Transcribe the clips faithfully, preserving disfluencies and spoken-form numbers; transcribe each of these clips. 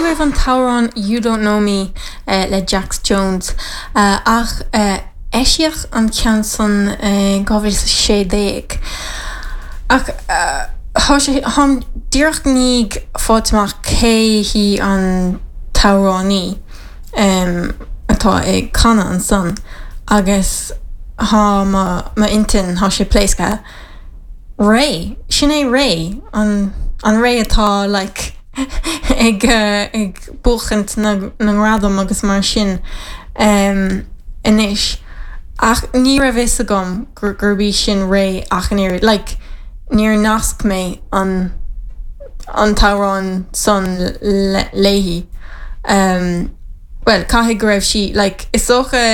agaibh an t-amhrán You Don't Know Me uh, le Jax Jones uh, ach uh, eisíodh an ceann san dhá mhíle sé déag. Ach táim díreach i ndiaidh fáil amach cé hí an t-amhránaí um, atá ag canadh ansan agus tá m'intinn tá sé pléasctha. Raye sin é Raye an an Raye atá like ag uh, ag buachaint na na ngradam agus mar sin um, anois ach ní raibh fhios agam gur gurb í sin Raye ach an oiread like níor nasc mé an an t-amhrán san le léi um, well caithfidh go raibh sí like is dócha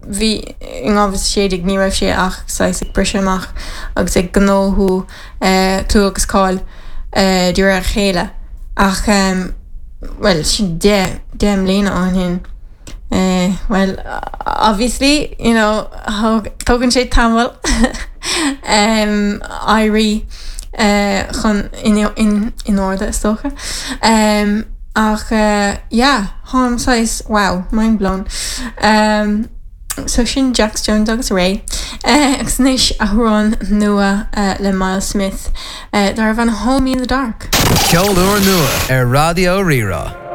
bhí in dhá mhíle sé déag ní raibh sé ach saghas ag briseadh amach agus ag gnóthú uh, clú agus cáil uh, de réir a chéile ach um, well sin deich deich mbliana ó shin. Uh, well obviously you know tógann sé tamall um, éirí uh, chun in, in, in orde is dócha. Um, ach uh, yeah, táim saghas wow, mind blown. Um, so sin Jax Jones agus Raye. Uh, agus anois amhrán nua uh, le Myles Smith uh, darb ainm Hold Me in the Dark. Ceol úr nua ar Raidió Rí-Rá.